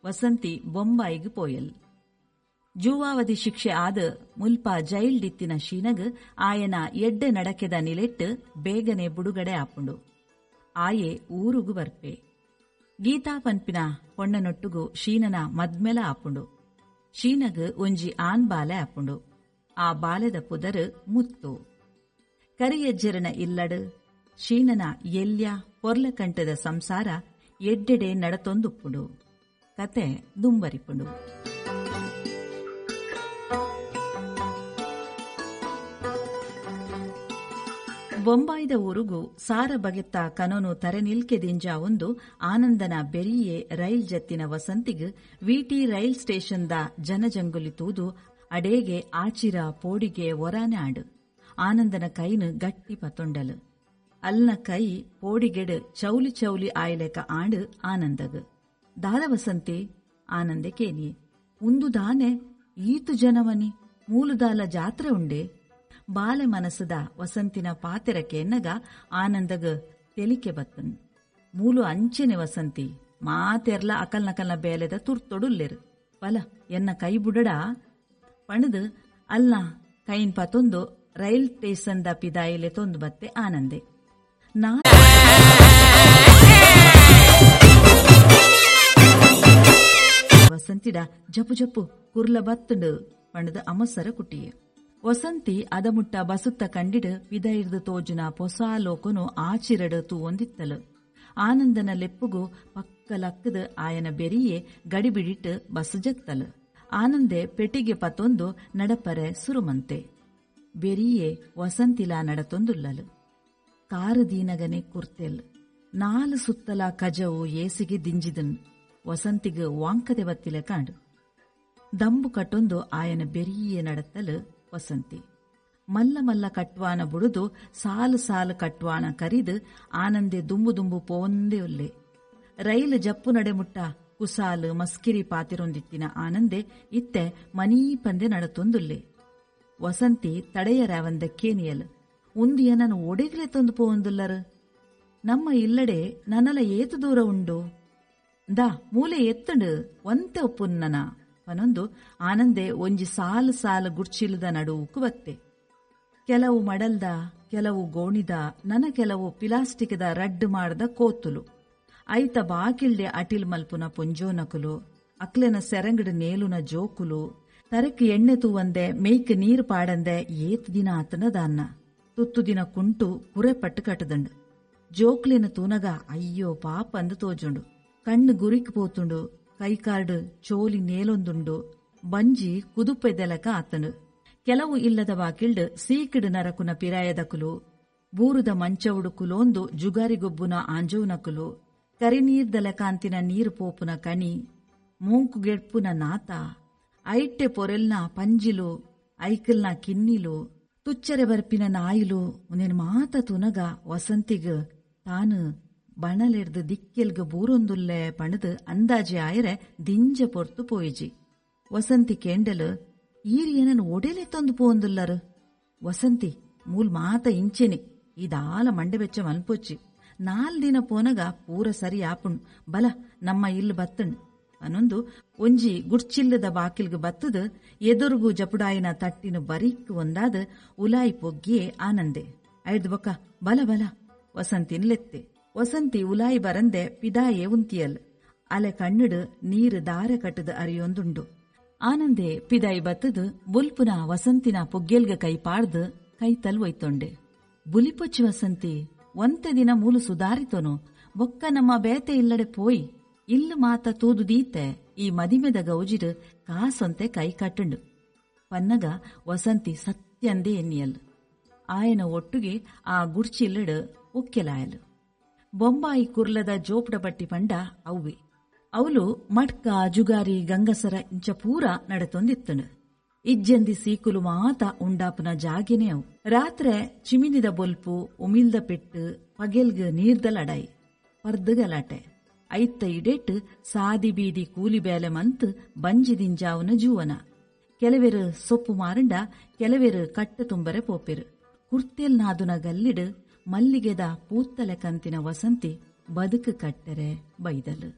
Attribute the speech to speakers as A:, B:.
A: ವಸಂತಿ ಬೊಂಬಾಯಿಗ್ ಪೋಯಲ್. ಜೂವಾವಧಿ ಶಿಕ್ಷೆ ಆದ್ ಮುಲ್ಪ ಜೈಲ್ಡಿತ್ತಿನ ಶೀನಗ್ ಆಯನ ಎಡ್ಡೆ ನಡಕೆದ ನಿಲೆಟ್ ಬೇಗನೆ ಬುಡುಗಡೆ ಆಪುಂಡು. ಆಯೆ ಊರುಗು ಬರ್ಪೆ. ಗೀತಾ ಪನ್ಪಿನ ಪೊಣ್ಣನೊಟ್ಟುಗು ಶೀನನ ಮದ್ಮೆಲ ಆಪುಂಡು. ಶೀನಗ್ ಒಂಜಿ ಆನ್ ಬಾಲೆ ಆಪುಂಡು. ಆ ಬಾಲೆದ ಪುದರ್ ಮುತ್ತು. ಕರಿಯಜ್ಜೆರೆನ ಇಲ್ಲಡ್ ಶೀನನ ಎಲ್ಯ ಪೊರ್ಲಕಂಟದ ಸಂಸಾರ ಎಡ್ಡೆಡೆ ನಡತೊಂದುಪ್ಪುಂಡು. ಕತೆ ದುಂಬರಿಪುಂಡು. ಬೊಂಬಾಯಿದ ಊರುಗು ಸಾರ ಬಗೆತ್ತ ಕನೊನು ತರೆ ನಿಲ್ಕೆ ದಿಂಜಾವೊಂದು ಆನಂದನ ಬೆರಿಯೇ ರೈಲ್ ಜತ್ತಿನ ವಸಂತಿಗ್ ವಿಟಿ ರೈಲ್ ಸ್ಟೇಷನ್ದ ಜನಜಂಗುಲಿ ತೂದು ಅಡೇಗೆ ಆಚಿರ ಪೋಡಿಗೆ ಒರಾನೆ ಆಂಡ್. ಆನಂದನ ಕೈನ್ ಗಟ್ಟಿ ಪತೊಂಡಲ್. ಅಲ್ನ ಕೈ ಪೋಡಿಗೆಡ್ ಚೌಲಿ ಚೌಲಿ ಆಯ್ಲೆಕ ಆಂಡ್ ಆನಂದಗ್. ದಾದ ವಸಂತಿ? ಆನಂದೆ ಕೇನಿಯೆ. ಉಂದು ದಾನೆ ಈತು ಜನವನಿ ಮೂಲುದಾಲ ಜಾತ್ರೆ ಉಂಡೆ? ಬಾಲೆ ಮನಸ್ಸುದ ವಸಂತಿನ ಪಾತೆರ ಕೇನ್ನಗ ಆನಂದಗ್ ತೆಲಿಕೆ ಬತ್ತನ್. ಮೂಲು ಅಂಚೆನೆ ವಸಂತಿ ಮಾತೆರ್ಲ ಅಕಲ್ನಕಲ್ನ ಬೇಲೆದ ತುರ್ತೊಡುಲ್ಲೆರ್. ಬಲ ಎನ್ನ ಕೈ ಬುಡಡ ಪಣದು ಅಲ್ನ ಕೈನ್ ಪತೊಂದು ರೈಲ್ ಸ್ಟೇಷನ್ ದ ಪಿದಾಯಿಲೆ ತೊಂದು ಬತ್ತೆ ಆನಂದೆ. ನಾ ವಸಂತಿಡ ಜಪು ಜಪು ಕುರ್ಲ ಬತ್ತುಂಡು ಪಣದು ಅಮಸರ ಕುಟ್ಟಿಯೆ. ವಸಂತಿ ಅದಮುಟ್ಟ ಬಸುತ್ತ ಕಂಡಿಡ್ ಪಿದೈರ್ದು ತೋಜುನ ಪೊಸ ಲೋಕನು ಆಚಿರಡ್ ತೂವೊಂದಿತ್ತಲು. ಆನಂದನ ಲೆಪ್ಪುಗು ಪಕ್ಕ ಲಕ್ಕದ ಆಯನ ಬೆರಿಯೇ ಗಡಿಬಿಡಿಟ್ಟು ಬಸ್ ಜತ್ತಲು. ಆನಂದೆ ಪೆಟ್ಟಿಗೆ ಪತೊಂದು ನಡಪರೆ ಸುರುಮಂತೆ. ಬೆರಿಯೇ ವಸಂತಿಲಾ ನಡತೊಂದುಲ್ಲಲು. ಕಾರು ದೀನಗನೆ ಕುರ್ತೆಲ್. ನಾಲು ಸುತ್ತಲ ಕಜವು ಏಸಿಗೆ ದಿಂಜಿದನ್. ವಸಂತಿಗ್ ವಾಂಕದೆ ಬತ್ತಿಲೆ ಕಾಂಡು. ದಂಬು ಕಟ್ಟೊಂದು ಆಯನ ಬೆರಿಯೇ ನಡತ್ತಲು ವಸಂತಿ. ಮಲ್ಲ ಮಲ್ಲ ಕಟ್ವಾನ ಬುಡುದು ಸಾಲು ಸಾಲು ಕಟ್ವಾನ ಕರಿದು ಆನಂದೆ ದುಂಬು ದುಂಬು ಪೋಂದೇ ಉಲ್ಲೆ. ರೈಲು ಜಪ್ಪು ನಡೆಮುಟ್ಟ ಕುಸಾಲು ಮಸ್ಕಿರಿ ಪಾತಿರೊಂದಿತ್ತಿನ ಆನಂದೆ ಇತ್ತೆ ಮನೀ ಪಂದೆ ನಡತೊಂದುಲ್ಲೆ. ವಸಂತಿ ತಡೆಯರಾವಂದ ಕೇನಿಯಲ್. ಉಂದು ಏನನು ಒಡೆಗ್ಲೆ ತಂದು ಪೋಂದುಲ್ಲರು? ನಮ್ಮ ಇಲ್ಲಡೆ ನನಲ ಏತು ದೂರ ಉಂಡು? ದಾ ಮೂಲೆ ಎತ್ತುಂಡು ಒಂತೆ ಒಪ್ಪುನ್ನನ ಪನೊಂದು ಆನಂದೆ ಒಂಜಿ ಸಾಲು ಸಾಲು ಗುಡ್ಚಿಲದ ನಡುವುಕು ಬತ್ತೆ. ಕೆಲವು ಮಡಲ್ದ, ಕೆಲವು ಗೋಣಿದ, ನನ ಕೆಲವು ಪಿಲಾಸ್ಟಿಕ್ದ ರಡ್ಡು ಮಾಡದ ಕೋತುಲು. ಐತ ಬಾಕಿಲ್ಡೆ ಅಟಿಲ್ ಮಲ್ಪುನ ಪೊಂಜೋನಕುಲು, ಅಕ್ಲೆನ ಸೆರಂಗಡ್ ನೇಲುನ ಜೋಕುಲು, ತರಕ್ ಎಣ್ಣೆ ತೂವಂದೆ ಮೇಯ್ಕ್ ನೀರು ಪಾಡಂದೆ ಏತ್ ದಿನ ಆತನ ದಾನ್ನ ತುತ್ತು ದಿನ ಕುಂಟು ಕುರೆ ಪಟ್ಟು ಕಟ್ಟದಂಡು. ಜೋಕ್ಲೆನ ತೂನಗ ಅಯ್ಯೋ ಪಾಪ ಅಂದು ತೋಜುಂಡು. ಕಣ್ಣು ಗುರಿಕ್ ಪೋತುಂಡು, ಕೈಕಾರ್ಡ್ ಚೋಲಿ ನೇಲೊಂದುಂಡು, ಬಂಜಿ ಕುದುಪೆದೆಲಕ ಆತನು. ಕೆಲವು ಇಲ್ಲದ ಬಾಕಿಲ್ಡ್ ಸೀಕಿಡ್ ನರಕುನ ಪಿರಾಯದಕುಲು, ಬೂರುದ ಮಂಚವುಡು ಕುಲೋಂದು ಜುಗಾರಿಗೊಬ್ಬುನ ಆಂಜೋನಕುಲು, ಕರಿನೀರ್ದಲಕಾಂತಿನ ನೀರು ಪೋಪುನ ಕಣಿ, ಮೂಂಕುಗೆಡ್ಪುನ ನಾತ, ಐಟ್ಟೆ ಪೊರೆಲ್ನ ಪಂಜಿಲು, ಐಕಲ್ನ ಕಿನ್ನಿಲು, ತುಚ್ಚರೆ ಬರ್ಪಿನ ನಾಯಿಲು ಉಂದೆನ್ ಮಾತ ತುನಗ ವಸಂತಿಗ್ ತಾನು ಬಣಲೆರ್ದು ದಿಕ್ಕೆಲ್ಗ್ ಬೂರೊಂದುಲ್ಲೆ ಪಣದು ಅಂದಾಜೆ ಆಯರೆ ದಿಂಜ ಪೊರ್ತು ಪೋಯಿಜಿ. ವಸಂತಿ ಕೇಂಡಲು, ಈರ್ ಏನನ್ ಒಡೆಲೆ ತಂದು ಪೋಂದುಲ್ಲರು? ವಸಂತಿ ಮೂಲ್ ಮಾತ ಇಂಚೆನೆ ಇದಾಲ ಮಂಡೆ ಬೆಚ್ಚ ಮನ್ಪೊಚ್ಚಿ. 4 ದಿನ ಪೋನಗ ಪೂರ ಸರಿ ಆಪುಣ್. ಬಲ ನಮ್ಮ ಇಲ್ಲು ಬತ್ತಣ್ ಪನೊಂದು ಒಂಜಿ ಗುಡ್ಚಿಲ್ಲದ ಬಾಕಿಲ್ಗ್ ಬತ್ತದು ಎದುರುಗು ಜಪುಡಾಯಿನ ತಟ್ಟಿನ ಬರಿಕ್ ಒಂದಾದ ಉಲಾಯಿ ಪೊಗ್ಗಿಯೇ ಆನಂದೆ. ಐದು ಬೊಕ್ಕ ಬಲ ಬಲ ವಸಂತಿನ್ ಲೆತ್ತೆ. ವಸಂತಿ ಉಲಾಯಿ ಬರಂದೆ ಪಿದಾಯೇ ಉಂತಿಯಲ್. ಅಲೆ ಕಣ್ಣುಡು ನೀರು ದಾರೆ ಕಟ್ಟದ ಅರಿಯೊಂದುಂಡು. ಆನಂದೆ ಪಿದಾಯಿ ಬತ್ತದು ಬುಲ್ಪುನ ವಸಂತಿನ ಪೊಗ್ಗೆಲ್ಗ ಕೈ ಪಾಡ್ದು ಕೈತಲ್ ಒಯ್ತೊಂಡೆ. ಬುಲಿಪೊಚ್ಚಿ ವಸಂತಿ, ಒಂತೆ ದಿನ ಮೂಲು ಸುಧಾರಿತೋನು, ಬೊಕ್ಕ ನಮ್ಮ ಬೇತೆ ಇಲ್ಲಡೆ ಪೋಯಿ ಇಲ್ಲು ಮಾತ ತೂದು ದೀತೆ ಈ ಮದಿಮೆದ ಗೌಜಿಡು ಕಾಸೊಂತೆ ಕೈ ಕಟ್ಟುಂಡು ಪನ್ನಗ ವಸಂತಿ ಸತ್ಯಂದೆ ಎನ್ನಿಯಲ್. ಆಯನ ಒಟ್ಟುಗೆ ಆ ಗುಡ್ಚಿಲ್ಲಡು ಒಕ್ಕೆಲಾಯಲು. ಬೊಂಬಾಯಿ ಕುರ್ಲದ ಜೋಪಡ ಬಟ್ಟಿ ಪಂಡ ಅವ್ವೆ. ಅವಲು ಮಟ್ಕ ಜುಗಾರಿ ಗಂಗಸರ ಇಂಚ ಪೂರ ನಡತೊಂದಿತ್ತನು. ಇಜ್ಜಂದಿ ಸೀಕುಲು ಮಾತ ಉಂಡಾಪುನ ಜಾಗೆನೇ ಅವು. ರಾತ್ರೆ ಚಿಮಿನಿದ ಬೊಲ್ಪು, ಉಮಿಲ್ದ ಪೆಟ್ಟು, ಪಗೆಲ್ಗ್ ನೀರ್ದ ಲಡಾಯಿ, ಪರ್ದು ಗಲಾಟೆ. ಐತ್ತ ಇಡೇಟ್ ಸಾದಿ ಬೀದಿ ಕೂಲಿ ಬೇಲೆ ಮಂತ್ ಬಂಜಿ ದಿಂಜಾವುನ ಜೂವನ. ಕೆಲವೆರು ಸೊಪ್ಪು ಮಾರಂಡ, ಕೆಲವೆರು ಕಟ್ಟು ತುಂಬರೆ ಪೋಪೆರು. ಕುರ್ತೆಲ್ ನಾದುನ ಗಲ್ಲಿಡು ಮಲ್ಲಿಗೆದ ಪೂತ್ತಲೆ ಕಂತಿನ ವಸಂತಿ ಬದುಕು ಕಟ್ಟರೆ ಬೈದಲು.